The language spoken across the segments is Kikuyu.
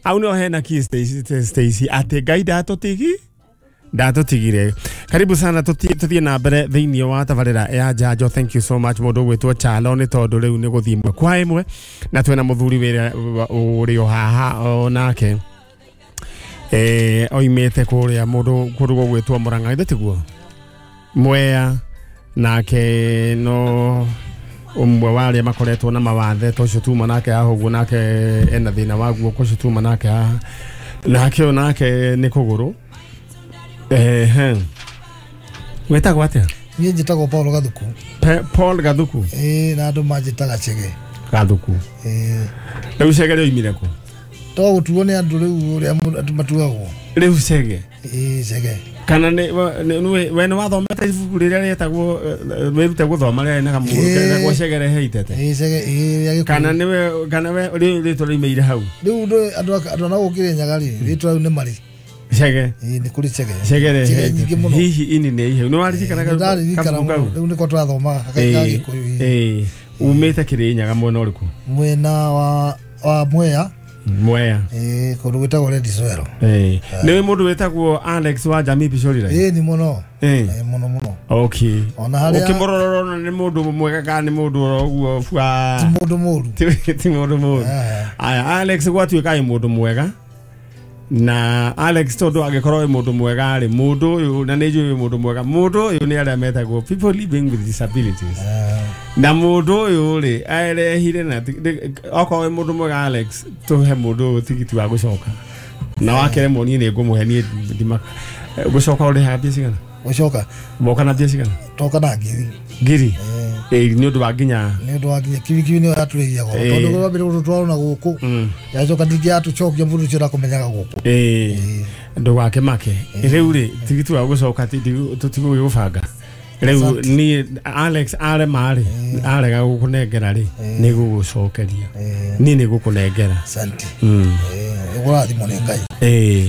Au nĩho hena key Stacy atĩ Ngai ndatũtigire. Karibu sana, tũthiĩ na mbere thĩinĩ wa tabarĩra ya Njanjo. Thank you so much mũndũ ũgwĩtwo Chalo, nĩ tondũ rĩu nĩ gũthiĩ ĩmwe kwa ĩmwe na twĩna mũthuri wĩra ũrĩ o haha o nake oimĩte kũrĩa mũndũ kũndũ gũgwĩtwo Mũrang'a, githĩ tiguo? Mwea nake no ũmwe wa arĩa makoretwo na mawathe ta ũcio tuma nake haha ũguo, nake ena thĩna wa guoko ũcio tuma nake haha, nake ũyũ nake nĩ kũgũrũ. Ehe, wĩtagwo atĩa? Niĩ njĩtagwo Paul Gathuku. Paul Gathuku. Ĩĩ, na andũ manjĩtaga Chege. Gathuku. Ĩĩ. Rĩu Chege rĩoimire kũ? To gũtuo nĩ andũ rĩu ũrĩa andũ matuagwo. Rĩu Chege? Ĩĩ, Chege. Kana we nĩ wathomete ibuku rĩrĩa rĩetagwo wĩrute gũthoma rĩarĩ na kamũgũrũ ketagwo Chege rehe itete? Ĩĩ, Chege, ĩĩ, rĩa Gĩkũyũ. Kana nĩwe, kana we rĩu rĩtwa rĩoimĩire hau? Rĩu andũ ana gũkĩrĩ Nyaga rĩ, rĩtwa rĩu nĩ marĩ. Chege. Ĩĩ, nĩ kũrĩ Chege. Chege rehe Chege itete. nyingĩ mũno. Hihi ini nĩ iheu. Nĩ waririkanaga Nĩ kabuku ndaririkana kau? mũno. Rĩu nĩko tũrathomaga ka Gĩkũyũ, ĩĩ. Ĩĩ. Umĩte Kĩrĩnyaga mwena ũrĩkũ? Mwena wa Mwea. Mwea. Ĩĩ, kũndũ gwĩtagwo Red Soil. Ĩĩ. Nĩ mũndũ wĩtagwo Alex wa Jamii Pishori? Ĩĩ, nĩ mũno. Ĩĩ. Ĩĩ, mũno mũno. Okay. Ona harĩa Ũkĩmũrora ũrona nĩ mũndũ mwega kana nĩ mũndũ oro ũguo bua? Ti mũndũ mũru. Ti mũndũ mũru. Aya, Alex gwatuĩka ĩ mũndũ mwega. Na Alex tondũ angĩkorwo wĩ mũndũ mwega rĩ, mũndũ ũyũ na nĩ njũĩ wĩ mũndũ mwega, mũndũ ũyũ nĩ arĩa metagwo people living with disabilities. Na mũndũ ũyũ rĩ, arehire na okorwo wĩ mũndũ mwega Alex, tũhe mũndũ ũyũ tigiti wa gũcoka. Na wakĩremwo niĩ nĩ ngũmũhe niĩ ndimaka. Gũcoka ũrĩhaga mbia cigana? Gũcoka. Woka na mbia cigana? Toka na ngiri. Ngiri? Ĩĩ, nĩ ũndũ wa nginya. Nĩ ũndũ wa nginya kibikibi nĩyo yatũrĩhia goro. Tondũ rwa mbere gũtũtwara na gũkũ. Yacoka ningĩ yatũcokia mũndũ ũcio ndakũmenyaga gũkũ. Ĩĩ. Ndũgakĩmake. Rĩu rĩ, tigiti wa gũcoka tũtigũgĩgũbanga. Rĩu niĩ Alex arema rĩ, arega gũkũnengera rĩ, nĩ gũgũcokeria. Niĩ nĩ gũkũnengera. Asante. Ũkũrathimwo nĩ Ngai. Ĩĩ.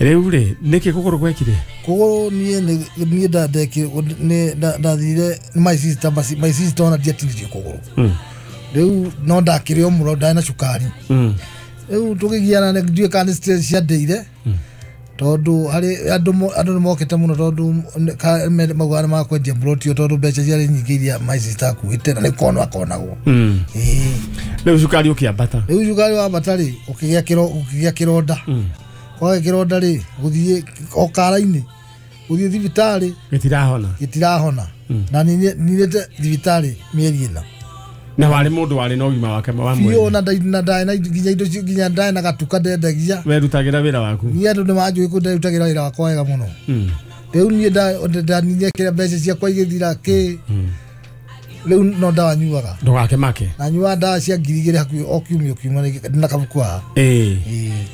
Rĩu rĩ, nĩkĩ kũgũrũ gwekire? Kũgũrũ niĩ niĩ ndathire my sister, my sister ona ndiatinirie kũgũrũ. Rĩu no ndakĩrĩ o mũno, ndarĩ na cukari. Rĩu tũkĩgiana ndiũĩ kana nĩ stress ciandeire. Tondũ harĩ andũ nĩ mokĩte mũno tondũ maugaga nĩ makwendia plot ĩyo tondũ mbeca ciarĩ nyingĩ iria my sister akuĩte na nĩ konwo akonagwo. Ĩĩ. Rĩu cukari ũkĩambata? Rĩu cukari wambata rĩ, ũkĩgĩa kĩronda. Kwagĩa kĩronda rĩ, gũthiĩ o kara-inĩ, gũthiĩ thibitarĩ. Gĩtirahona. Gĩtirahona. Na ninĩte thibitarĩ mĩeri ĩna. Na warĩ mũndũ warĩ na ũgima wake wa mwĩrĩ. Biũ, na ndarĩ na nginya indo nginya ndarĩ na gatuka ndendagia. Werutagĩra wĩra waku? Niĩ andũ nĩ manjũĩ kũ nderutagĩra wĩra wakwa wega mũno. Rĩu niĩ ndaninire kĩrĩa mbeca ciakwa igĩthira kĩ. Rĩu no ndawa nyuaga. Ndũgakĩmake. Na nyuaga ndawa cia ngiri igĩrĩ hakuhĩ o kiumia o kiumia na kabuku haha. Ĩĩ.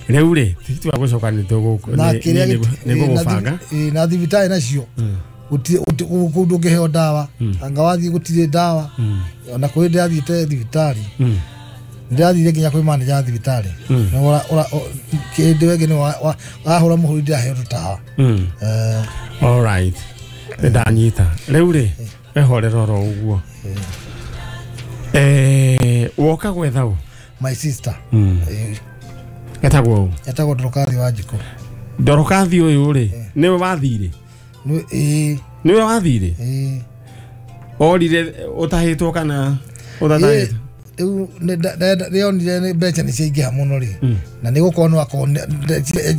Rĩu rĩ, tigiti wa gũcoka nĩ Na kĩrĩa gũgũbanga. Na thibitarĩ nacio. Kũu ndũngĩheo ndawa. Anga wathiĩ gũtirĩ ndawa. Ona kũrĩ ndĩrathiĩte thibitarĩ. Ndĩrathire nginya kwĩ manager wa thibitarĩ. Kĩndũ ĩngĩ nĩ wahũra mũhũri ndĩraheo tũtawa. All right. Nĩndanyita. Rĩu rĩ, wehorera oro ũguo. Woka gwetha ũ? My sister. Etagwo ũ? Etagwo Dorokathi wa Njikũ. Dorokathi ũyũ rĩ, nĩwe wathire? Ĩĩ. Nĩwe wathire? Ĩĩ. Orire ũtahĩtwo kana ũtatahĩtwo? Rĩu nĩonire nĩ mbeca nĩ ciaingĩha mũno rĩ. Na nĩ gũkonwo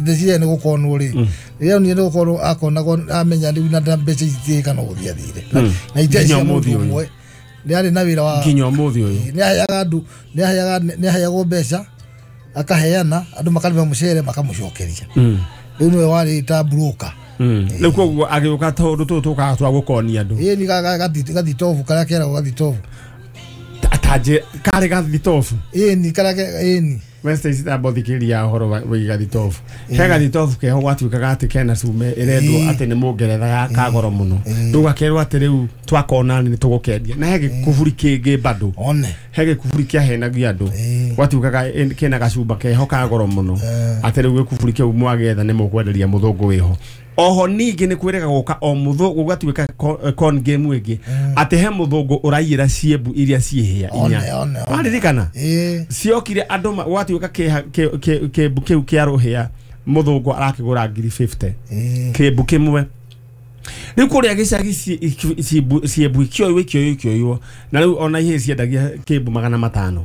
ndeciria nĩ gũkonwo rĩ. Rĩrĩa onire nĩ gũkonwo akonagwo amenya rĩu na mbeca ici citiĩkana gũthiĩ athire. Na itarĩ Nginya cia ũmũthĩ mũndũ ũyũ. ũmwe. Nĩ arĩ na wĩra wa Nginya ũmũthĩ ũyũ. Nĩ aheaga andũ, nĩ aheagwo mbeca akaheana andũ makarĩma mũcere makamũcokeria. Rĩu nĩwe warĩ ta broker. Rĩu koguo agĩũka tondũ tũtũ tũkaga twa gũkonia andũ. Ĩĩ, nĩ gathitobu karĩa keragwo gathitobu. Atanje karĩ gathitobu? Ĩĩ, nĩ karĩa ĩĩ, nĩ. We Stacy tamba ũthikĩrĩria ũhoro wĩgiĩ gathitobu. He gathitobu keho gwatuĩkaga atĩ kena cume ĩrendwo atĩ nĩ mũngeretha ya kagoro mũno. Rĩu gakerwo atĩ rĩu twakona nĩ tũgũkendia. Na he gĩkuburi kĩngĩ bado. One. He gĩkuburi kĩahenagia andũ. Gwatuĩkaga kĩna gacumba keho ka goro mũno. Atĩ rĩu gĩkuburi kĩu mwagĩetha nĩ mũkwenderia mũthũngũ wĩho. Oho ningĩ nĩ kwĩrĩga gũka o mũthũngũ gũgatuĩka con game ĩngĩ atĩ he mũthũngũ ũraiyĩra ciembu iria ciĩhĩa inya. Waririkana? Ciokire andũ gwatuĩka kĩmbu kĩu kĩa rũhĩa mũthũngũ arakĩgũra ngiri 50 kĩmbu kĩmwe. Rĩu kũrĩa gĩcagi ciembu ikĩoywo ikĩoywo na rĩu ona ihĩĩ ciendagia kĩmbu 500.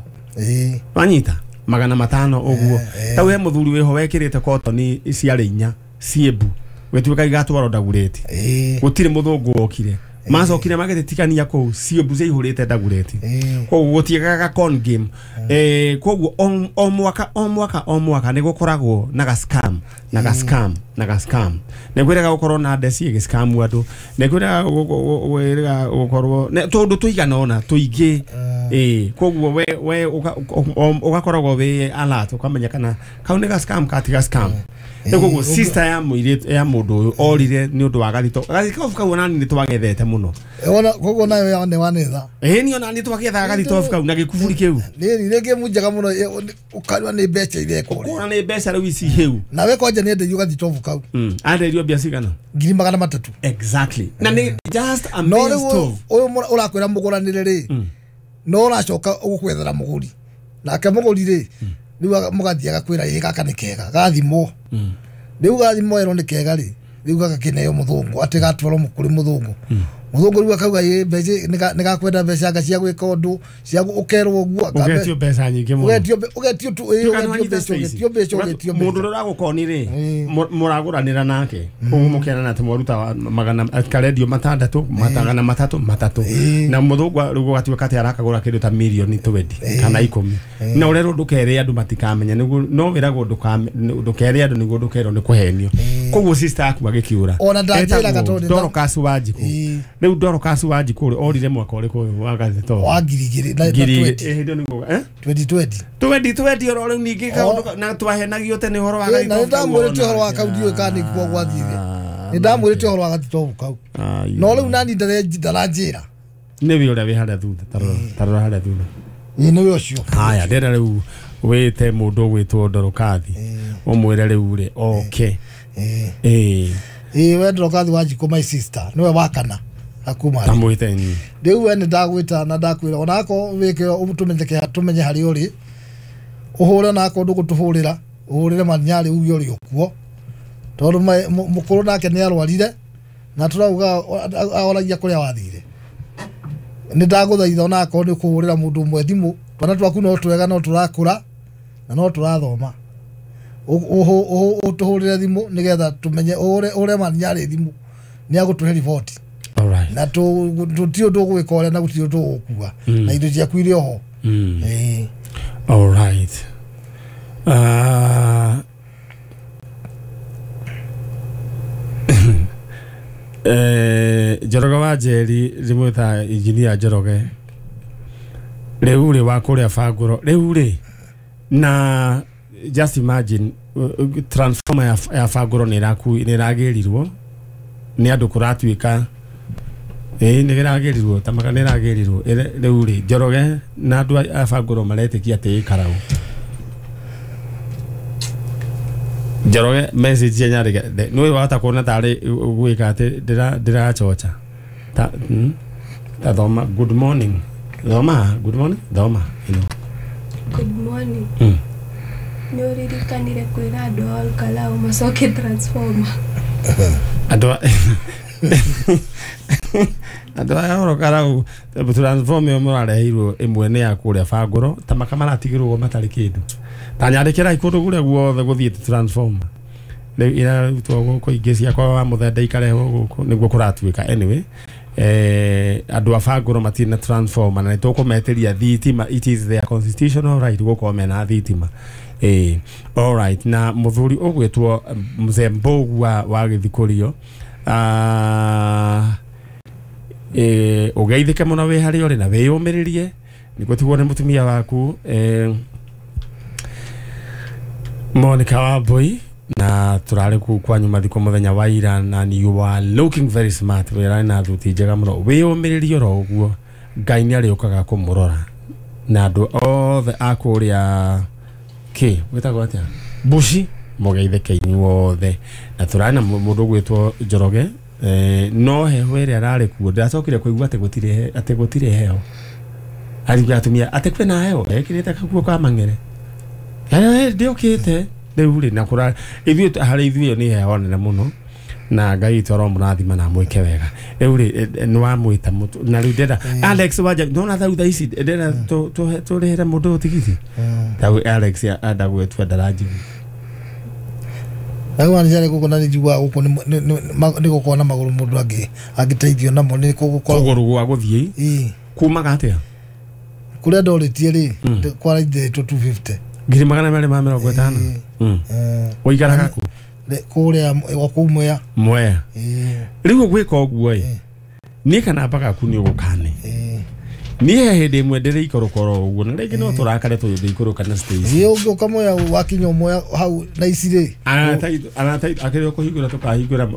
Wanyita 500 ũguo. Tau he mũthuri wĩho wekĩrĩte kotoni ciarĩ inya ciembu gũtuĩka igatwarwo Ndagureti. Gũtirĩ mũthũngũ wokire. Macokire magĩtikania kũu ciembu ciaihũrĩte Ndagureti. Koguo gũtiagaga con game. Koguo o mwaka o mwaka o mwaka nĩ gũkoragwo na ga scam na ga scam na ga scam. Nĩ kwĩrega gũkorwo na ndeci ĩgĩ scam andũ. Nĩ kwĩrega gũkorwo tũndũ tũigana ũna tũingĩ. Koguo we ũgakoragwo wĩ alert ũkamenya kana kau nĩ ga scam katiga scam. Koguo sister ya mũirĩtu ya mũndũ ũyũ orire nĩ ũndũ wa gathito. Gathito kau ona nĩ twagethete mũno. Ona koguo nayo ya nĩ wanetha. Ni ona nĩ twagethaga gathito kau na gĩkuburi kĩu. Nĩ rĩngĩ munjega mũno ũkarua nĩ mbeca irekwo. Ũkona nĩ mbeca rĩu ici hĩu. Nawe kwanja nĩ enderio gathito kau. Andeirio mbia cigana? Ngiri 300. Exactly. Na nĩ just a mere stove. No rĩu ũyũ ũrakwĩra mũgũranĩre rĩ. No ũracoka ũgũkwethera mũgũri. Nake mũgũri rĩ rĩu mũgathiĩ agakwĩra ĩ gaka nĩ kega gathimwo. Rĩu gathimwo erwo nĩ kega rĩ rĩu gagakĩneo mũthũngũ atĩ gatwarwo kũrĩ mũthũngũ. Mũthũngũ rĩu akauga ĩ mbeca nĩ gakwenda mbeca anga cia gwĩka ũndũ cia ũkerwo ũguo. Ũgetio mbeca nyingĩ mũno. Ũgetio tu ũgetio mbeca ũgetio mbeca ũgetio mbeca. Mũndũ ũrĩa ũragũkoni rĩ mũragũranĩra nake koguo mũkerana atĩ mwaruta magana karendio 600 300 3 na mũthũngũ rĩu gũgatuĩka atĩ arakagũra kĩndũ ta mirioni 20 kana 10 na ũrerwo ndũkere andũ matikamenya nĩguo no wĩragwo ndũkere andũ nĩguo ndũkerwo nĩ kũhenio. Koguo sister yaku agĩkĩũra. Ona ndanjĩraga tondũ Dorcas Wanjikũ. Rĩu Dorcas Wanjikũ orire mwaka ũrĩkũ wa gathito? Wa 2020. 2020 2020 oro rĩu ningĩ kaũndũ na twahenagio tene ũhoro wa gathito. Na nĩndamwĩrĩte ũhoro wa kau ndiũĩ kana nĩkuo gwathire. Nĩndamwĩrĩte ũhoro wa gathito kau. No rĩu nani ndaranjĩra. Nĩwe ũrĩa wĩ harĩa thutha tarora harĩa thutha. Ĩ nĩwe ũcio. Haya ndĩrenda rĩu wĩte mũndũ ũgwĩtwo Dorokathi ũmwĩre rĩu rĩ okay. We Dorokathi Wanjikũ my sister nĩwe wakana akuma tamwĩte ni rĩu we nĩ ndagwĩta na ndakwĩra onako wĩke tũmenye harĩa ũrĩ ũhũre onako ndũgũtũhũrĩra ũhũrĩre Manyarĩ uge ũrĩ ũkuo tondũ mũkũrũ nake nĩ arwarire na tũrauga ahoragia kũrĩa wathire. Nĩ ndagũthaitha onako nĩ kũhũrĩra mũndũ ũmwe thimũ twana twaku no twega no tũrakũra na no tũrathoma ũtũhũrĩre thimũ nĩgetha tũmenye ũhũre Manyarĩ thimũ nĩ agũtũhe riboti. Na tũtirĩ ũndũ ũgwĩka ũrĩa na gũtirĩ ũndũ ũgũkua na indo ciaku irĩ oho. All right. Njoroge wa Njeri ndĩmwĩta engineer Njoroge rĩu rĩ wa kũrĩa Bangũro rĩu rĩ na just imagine transformer ya Bangũro nĩ ĩragĩrirwo nĩ andũ kũratuĩka nĩ ĩragĩrirwo ta maka nĩ ĩragĩrirwo rĩu rĩ Njoroge na andũ a Bangũro maretĩkia atĩ ĩ Karau. Njoroge message ya nyarĩ nĩ wahota kuona tarĩ gwĩka atĩ ndĩrachocha ta thoma good morning thoma good morning thoma you know. Good morning. Nĩ ũririkanire kwĩra andũ a Olkalau macoke transformer. Andũ aya Olkalau transformer ĩyo mũrareheirwo ĩmwe nĩ ya kũrĩa Bangũro ta maka maratigĩrwo matarĩ kĩndũ. Ta nyandĩkĩrai kũndũ kũrĩa guothe gũthiĩte transformer rĩu irarutwo gũkũ ingĩ ciakwa wa mũthemba ikarehwo gũkũ nĩguo kũratuĩka anyway. Andũ a Bangũro matirĩ na transformer na nĩtũkũmetĩria thitima. It is their constitutional right gũkorwo mena thitima. All right. Na mũthuri ũgwĩtwo Mzee Mbũgua wa Gĩthikũrio ũgeithĩke mũno wĩ harĩa ũrĩ na wĩyũmĩrĩrie nĩguo tigwo nĩ mũtumia waku Monica Wambui na turare ku kwanyu mathiko muthenya wa ira na you are looking very smart wira na thuti njega muno wiyumiririe ro uguo Ngai ni ariukaga kumurora na andu othe a kuria ki witagwo atia Bushi Mũgeithĩke inyuothe. Na tũrarĩ na mũndũ ũgwĩtwo Njoroge. No heho ĩrĩa ararĩ kuo ndĩracokire kũigua atĩ gũtirĩ heho. Ariuga atumia atĩ kwĩna heho ekĩrĩte kaguo ka mang'ere. Ndĩũkĩte rĩu rĩ na kũra ithuĩ harĩ ithuĩ ĩyo nĩ heho nene mũno. Na Ngai witũ aromũrathima na amwĩke wega. Rĩu rĩ nĩ wamwĩta na rĩu ndĩrenda Alex wanja ndona thau thaa ici ndĩrenda tũrĩhĩre mũndũ ũyũ tigiti. Tau Alex enda gwĩtua ndaranjigua. Rĩu anjare gũkũ na nĩnjiguaga gũkũ nĩ gũkorwo na magũrũ mũndũ angĩteithio namo nĩ gũkorwo kũgũrũ gwa gũthiĩ kumaga atĩa? Kũrĩa ndorĩtie rĩ kwaraithĩtwo 250 250. Ũikaraga kũ? Kũrĩa o kũu Mwea. Mwea. Rĩu ũgwĩka ũguo ĩ niĩ kana gaku nĩ ũgũkane. Niĩ he hĩndĩ ĩmwe ndĩrĩ ikorokoro ũguo na rĩngĩ no tũrakare tũgĩthiĩ ikũrũka na stage. Ĩ ũngĩũka Mwea wakinya Mwea hau na ici rĩ. Arata akĩrĩ kũhingũra tũkahingũra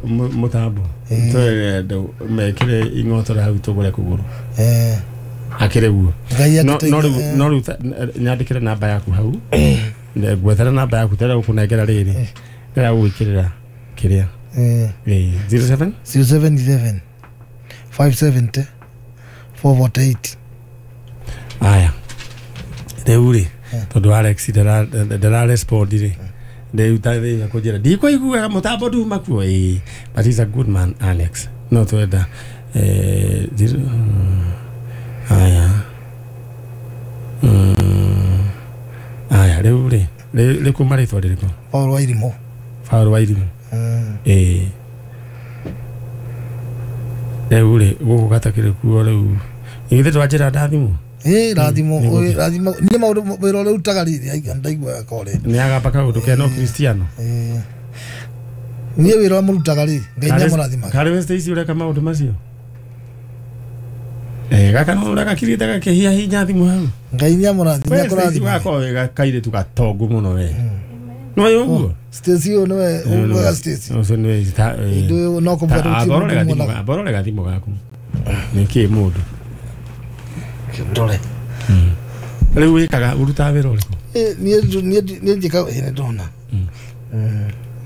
mũtambo. Twere andũ mekĩre ing'otore hau tũgũre kũgũrũ. Akĩrĩ guo. No rĩu nyandĩkĩre namba yaku hau. Ngwethere namba yaku tera gũkũnengera rĩrĩ. Ndĩra gũgwĩkĩrĩra kĩrĩa. 07 0711 570 448. Aya. Rĩu rĩ tondũ Alex ndara respond rĩ. Rĩu ta thĩ kũnjĩra ndikũiguaga mũtambo nduma kuo. But he's a good man Alex. No twenda aya. Aya rĩu rĩ rĩkuma rĩtwa rĩrĩkũ? Paul Wairimũ. Paul Wairimũ. Rĩu rĩ gũkũ gatakĩrĩ kuo rĩu. Githĩ twanjĩra ndathimũ? Rathimo rathimo niĩ maũndũ wĩra ũrĩa ũrutaga rĩrĩ ndaiguaga kore. Nĩ agamba kaũndũ kena Kristiano. Niĩ wĩra ũrĩa mũrutaga rĩ Ngai nĩ amũrathimaga. Karĩ we Stacy ũreka maũndũ macio? Gaka no ũrĩa gakirĩte gakĩhia hinya thimũ hau. Ngai nĩ amũrathima akũrathima. Gako wega kairĩtu gatongu mũno we. Nĩ ũguo? Stacy ũyũ nĩwe ũguaga Stacy. Ũcio nĩwe Ndũ no kũmwenda gũtirĩ. Aborore gathimũ gaku. Nĩ kĩ mũndũ? Ndore. Rĩu wĩkaga ũrutaga wĩra ũrĩkũ? Niĩ njĩkaga nĩ ndona.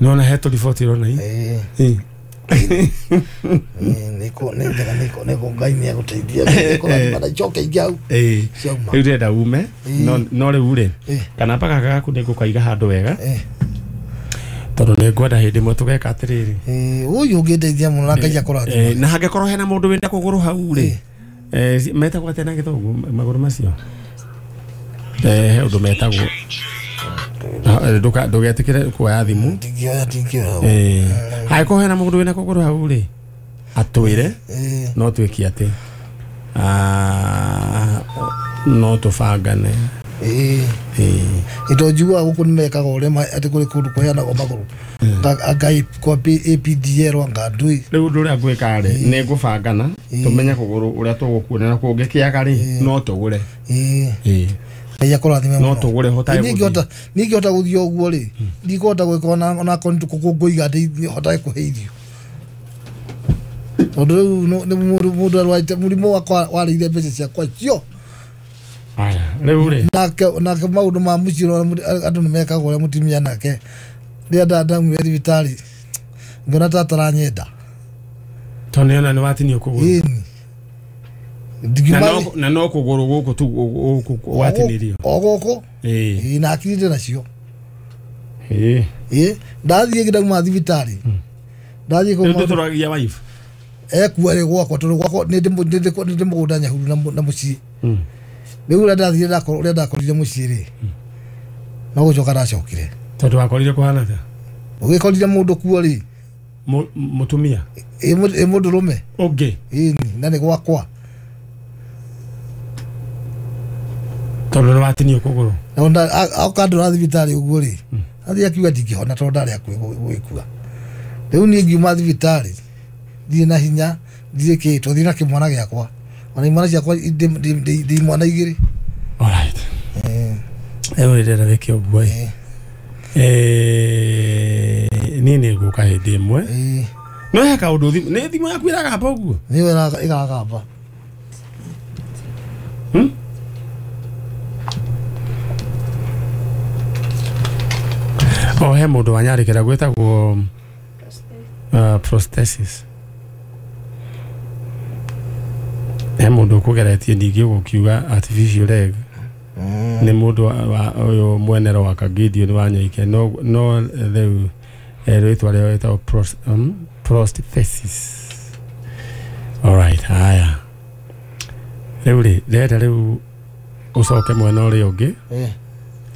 Nĩwona he tũriboti ũrona ii? Nĩkũ nĩ njega nĩkũ Ngai nĩ agũteithia nĩkũrathima na icoke ingĩ hau. Rĩu ndĩrenda ume no rĩu rĩ kana gaka gaku nĩngũkaiga handũ wega tondũ nĩngwenda hĩndĩ ĩmwe tũgeka atĩrĩrĩ. Ũyũ ũngĩndeithia mũno na Ngai akũrathime. Na hangĩkorwo hena mũndũ wĩna kũgũrũ hau rĩ metagwo atĩa na gĩthũngũ magũrũ macio? He ũndũ metagwo ndũgetĩkĩre kuoya thimũ. Ndingĩoya. Angĩkorwo hena mũndũ wĩna kũgũrũ hau rĩ atwĩre no twĩke atĩ no tũbangane. Indo njiguaga gũkũ nĩ mekaga ũrĩa atĩ kũrĩ kũndũ kũheanagwo magũrũ Ngai kwa APDL anga ndui. Rĩu ũndũ ũrĩa ngwĩka rĩ nĩ ngũbangana tũmenye kũgũrũ ũrĩa tũgũkuona na kũngĩkĩaga rĩ no tũgũre. Ngai akũrathime mũno. No tũgũre hotage gũthiĩ. Niĩ ingĩhota gũthiĩ ũguo rĩ ndikũhota gwĩka ona akorwo nĩ ngũiga hotage kũhe irio. Tondũ rĩu nĩ mũndũ arwarĩte mũrimũ wakwa warĩire mbeca ciakwa cio. Aya rĩu rĩ nake maũndũ ma mũciĩ andũ nĩ mekaga ũrĩa mũtumia nake rĩrĩa ndaumire thibitarĩ ngĩona ta ataranyenda. Tondũ nĩona nĩ watinio kũgũrũ. Ĩni. Na no kũgũrũ gũkũ tu watinirio. O gũkũ? Na akirĩte nacio. Ndathiĩ ndauma thibitarĩ. Ndathiĩ kũu. Rĩu tũragia wife. Ekuo rĩ gwakwa tondũ gwakwa nĩ ndĩ mũgũnda Nyahururu na mũciĩ. Rĩu ũrĩa ndathire ũrĩa ndakorire mũciĩ rĩ no gũcoka ndacokire. Tondũ wakorire kũhana atĩa? Ũgĩkorire mũndũ kuo rĩ Mũtumia? Ĩ mũndũrũme. Ũngĩ? Ĩni na nĩ gwakwa. Tondũ nĩ watinio kũgũrũ. Oka ndora thibitarĩ ũguo rĩ athiĩ akiuga ndingĩhona tondũ ndarĩ hakuhĩ gũgĩkua. Rĩu niĩ ngiuma thibitarĩ ndirĩ na hinya ndirĩ kĩ tũthiĩ na kĩmwana gĩakwa ona imwana ciakwa ndĩ imwana igĩrĩ. Alright. Rĩu ndĩrenda wĩke ũguo ĩ. Niĩ nĩ ngũka hĩndĩ ĩmwe. No he kaũndũ thimũ nĩ thimũ yaku ĩragamba ũguo? Nĩyo ĩragamba. O he mũndũ wanyandĩkĩra gwĩtagwo prosthesis. He mũndũ ũkũgeretie ningĩ gũkiuga artificial leg. Nĩ mũndũ ũyũ mwenero wa Kagidio wa Nyoike no rĩu rĩtwa rĩao rĩtagwo prosthesis. All right, haya. Rĩu rĩ ndĩrenda rĩu ũcoke mwena ũrĩa ũngĩ.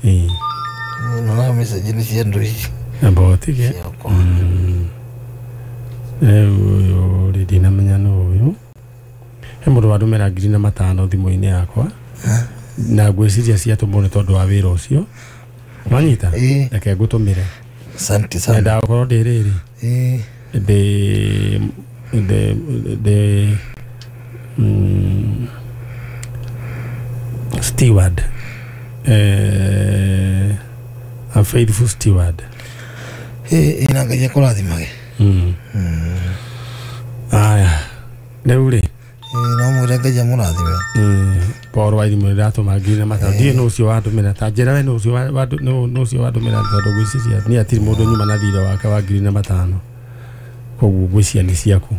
Ĩĩ. No message nĩ cia andũ ici. Amba ũtige. Rĩu ũyũ rĩ ndinamenya nũ ũyũ. He mũndũ wandũmĩra 5,000 thimũ-inĩ yakwa. Na ngwĩciria ciatũmwo nĩ tondũ wa wĩra ũcio. Wanyita? Reke ngũtũmĩre. Asante sana. Nyendaga gũkorwo ndĩ rĩrĩ. Ndĩ steward. A faithful steward. Ina Ngai akũrathimage. Aya. Rĩu rĩ. No mwĩre Ngai amũrathime. Paul wa Irimũ nĩndatũma 5,000. Ndiũĩ nũ ũcio wandũmĩra. Ta njĩra we nũ ũcio wandũmĩra tondũ ngwĩciria niĩ hatirĩ mũndũ nyuma na thirĩ wake wa 5,000. Koguo ngwĩciria nĩ ciaku.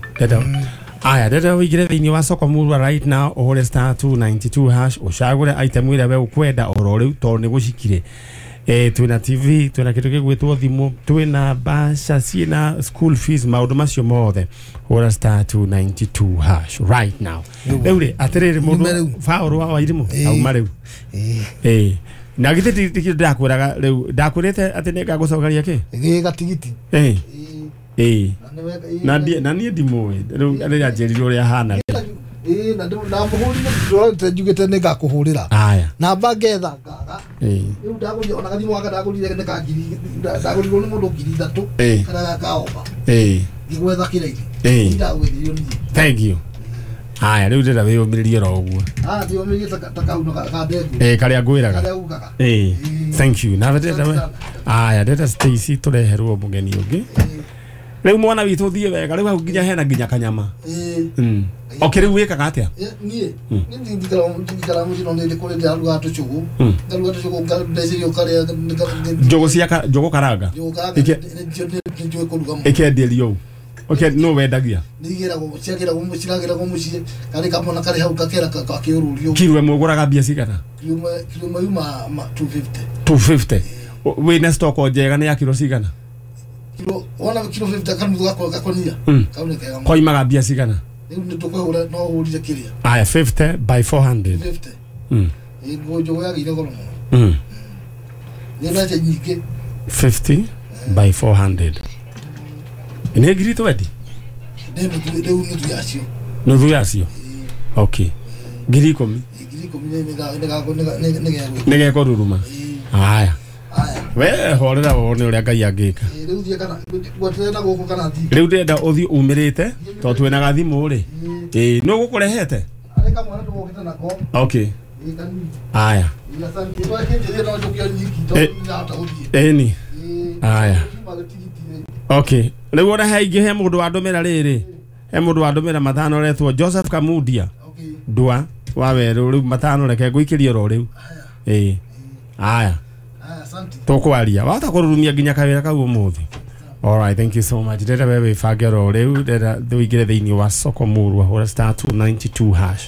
Aya, ndĩrenda ũingĩre thĩinĩ wa soko murwa right now ũhũre star 292 hash ũcagũre item ĩrĩa we ũkwenda oro rĩu tondũ nĩ gũcikire. Twĩna TV, twĩna kĩndũ gĩgwĩtwo thimũ, twĩna mbeca ciĩna school fees, maũndũ macio mothe. Hũra star 292 hash right now. Rĩu rĩ atĩrĩrĩ mũndũ Paul wa Wairimũ auma rĩu. Na githĩ ti ndakwĩraga rĩu ndakwĩrĩte atĩ nĩngagũcokeria kĩ? Gĩ gatigiti. Na niĩ ndimũĩ rĩu rĩrĩa njĩrirwo ũrĩa ahana. Na ndamũhũrire njugĩte nĩngakũhũrĩra. Aya. Namba ngetha ngaga. Rĩu ndagũrire ona gathimũ gaka ndagũrire nĩ ka ngiri ndagũrirwo nĩ mũndũ 3,000 kana gakaomba. Ngĩgwetha kĩraini. Ndagwĩthirio niĩ. Thank you. Aya rĩu ndĩrenda wĩyũmĩrĩrie oro ũguo. Ndĩyũmĩrĩrie ta kau ka ndengũ. Karĩa ngwĩraga. Karĩa ugaga. Thank you. Na ndĩrenda aya ndĩrenda Stacy tũreherwo mũgeni ũngĩ. Rĩu mwana witũ thiĩ wega rĩu hau nginya hena nginya kanyama. Okay, rĩu wĩkaga atĩa? Niĩ niĩ ndikara mũciĩ no nĩ kũrĩ ndĩraruga tũcũgũ. Ngaruga tũcũgũ ngandecerio karĩa njũgũ cia njũgũ karanga. Njũgũ karanga nĩ njũĩ kũruga mũno. Ĩkenderio ũũ. Okay, no wendagia. Nĩigĩragwo ciagĩragwo ciragĩragwo mũciĩ karĩ kamwana karĩ hau gakera gakĩũrũrio. Kiro ĩmwe ũgũraga mbia cigana? Kiro ĩmwe yuma 250. 250. Wĩna stock njega nĩ ya kiro cigana? Kiro wona kiro 50 kanuthu gakwa gakonia. Kau nĩ kega. Koimaga mbia cigana? Rĩu nĩ tũkũhũra no ũhũrire kĩrĩa. Aya 50 by 400. 50. Ĩ njũgũ yagĩire goro mũno. Nĩ mbeca nyingĩ. 50 by 400. Nĩ ngiri 20? Nĩ rĩu nuthu yacio. Nuthu yacio? Okay. 10,000. 10,000 nĩ gekũruruma. Aya. We horera wone ũrĩa Ngai angĩka. Rĩu thiĩ kana gweterera na gũkũ kana thiĩ. Rĩu ndĩrenda ũthiĩ umĩrĩte tondũ twĩna gathimũ rĩ. Nĩ ũgũkũrehete? Arĩ kamwana tũgũkĩte nako. Okay. Aya. Ĩni. Aya. Okay. Rĩu ona he ingĩ he mũndũ wandũmĩra rĩrĩ. He mũndũ wandũmĩra 5 ũretwo Joseph Kamudia. Ndua wa werũ rĩu 5 reke ngũikĩrie oro rĩu. Aya. Tũkwaria wahota kũrurumia nginya kawĩra kau ũmũthĩ. All right, thank you so much. Ndĩrenda we wĩbange oro rĩu ndĩrenda ũingĩre thĩinĩ wa soko murwa hũra star 292 hash.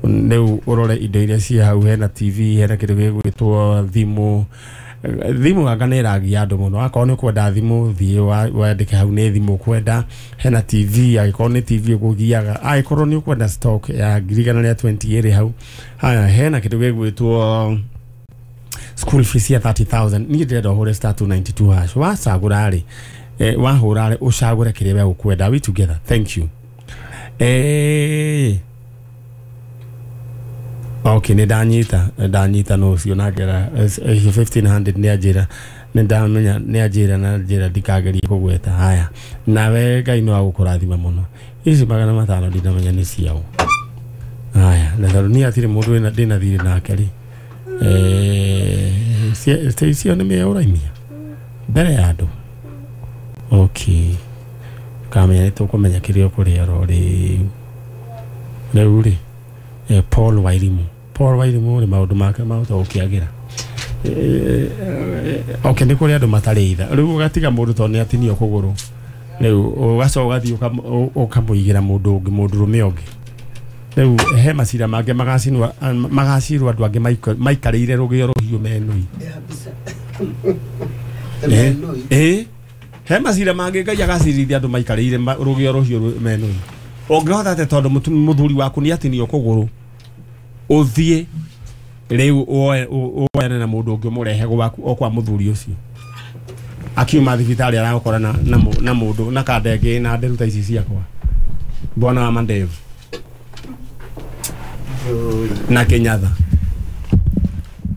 Rĩu ũrore indo iria ciĩ hau hena TV hena kĩndũ gĩgwĩtwo thimũ. Thimũ anga nĩ ĩragia andũ mũno. Akorwo nĩ ũkwenda thimũ thiĩ wandĩke hau nĩ thimũ ũkwenda. Hena TV angĩkorwo nĩ TV ũkũgiaga. Angĩkorwo nĩ ũkwenda stock ya 120 ĩrĩ hau. Haya hena kĩndũ gĩgwĩtwo school fees ya 30,000. Niĩ ndĩrenda ũhũre star 292 hash. Wacagũra rĩ wahũra rĩ ũcagũre kĩrĩa we ũkwenda. We together. Thank you. Okay, nĩ ndanyita no ũcio na ngera 1500 nĩ anjĩra nĩ ndamenya nĩ anjĩra na njĩra ndikagerie kũgweta. Haya nawe Ngai no agũkũrathima mũno. Ici 500 ndinamenya nĩ ciao. Haya na tondũ niĩ hatirĩ mũndũ ndĩna thirĩ nake rĩ. Icio nĩ mĩe ũraimia mbere ya andũ. Okay. Kamenya nĩ tũkũmenya kĩrĩa ũkũrĩa oro rĩu. Rĩu rĩ Paul Wairimu. Paul Wairimu rĩ maũndũ make mahota gũkĩagĩra. Okay nĩ kũrĩ andũ matarĩ itha rĩu ũgatiga mũndũ tondũ nĩ atinio kũgũrũ rĩu ũgacoka ũgathiĩ ũkamũigĩra mũndũ ũngĩ mũndũrũme ũngĩ rĩu he macira mangĩ magacirwo andũ angĩ maikarĩire rũgĩo rũhiũ menui he macira mangĩ Ngai agacirithia andũ maikarĩire rũgĩo rũhiũ menui ũngĩhota atĩa tondũ mũthuri waku nĩ atinio kũgũrũ ũthiĩ rĩu woyane na mũndũ ũngĩ ũmũrehe gwaku o kwa mũthuri ũcio akiuma thibitarĩ aragũkora na mũndũ na kandenge na nderu ta ici ciakwa bwana wa mandevu na Kenyatta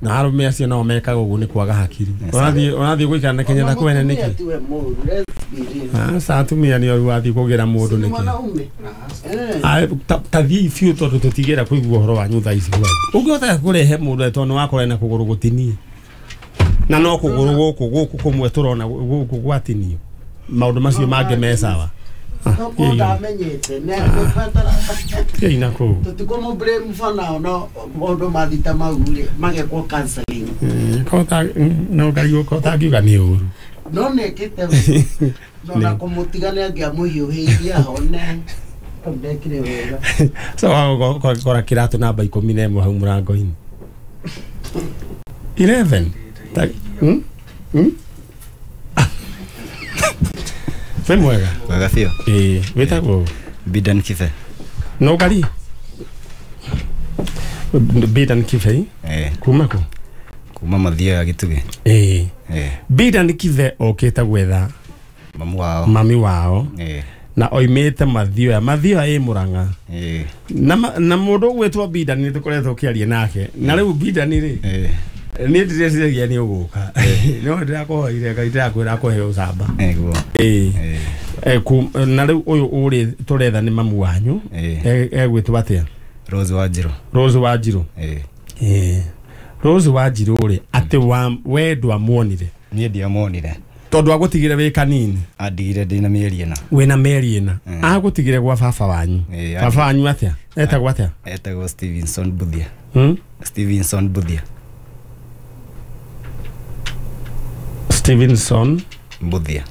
na arũme acio nao mekaga ũguo nĩ kwaga hakiri ũrathiĩ gũikara na Kenyatta kwene nĩkĩ aca atumia nĩ oru wathiĩ kũgĩra mũndũ nĩkĩ ta thiĩi biũ tondũ tũtigĩra kũigua ũhoro wanyu thaa ici gwanyu ũngĩhota kũrehe mũndũ tondũ nĩ wakora na kũgũrũ gũtinie na no kũgũrũ gũkũ kũmwe tũrona gũkũ gwatinio maũndũ macio mangĩ me sawa ina kũu tũtikũmũ-blame for now no maũndũ mathita mau rĩ magekwo counseling no Ngai ũtangiuga nĩ ũru no nĩkĩte no na kũmũtiga nĩ angĩamũhiũhĩirie ahone ndekire wega so ũgakora kĩratũ namba 11 hau mũrango-inĩ 11 Wĩ mwega wega biũ ĩĩ wĩtagwo Bidan Kibe no ngari Bidan Kibe kuma kũ kuma Mathioya ya Gĩtugĩ ĩĩ Bidan Kibe okĩte gwetha mami wao na oimĩte Mathioya Mathioya ĩ Mũrang'a na mũndũ ũgwĩtwo Bidan nĩ tũkoretwo ũkĩaria nake na rĩu Bidan rĩ niĩ ndireciria nĩ ũgũka no ndĩrakũhoire Ngai ndĩrakwĩra akũhe ũcamba na rĩu ũyũ ũrĩ tũretha nĩ mamu wanyu egwĩtwo atĩa Rose Wanjirũ Rose Wanjirũ Rose Wanjirũ rĩ atĩ we ndwamuonire niĩ ndiamuonire tondũ agũtigire wĩ kanini andigire ndĩna mĩeri ĩna wĩna mĩeri ĩna agũtigire gwa baba wanyu baba wanyu atĩa etagwo atĩa etagwo Stevenson Buthia Stevenson Buthia Stevenson Buthia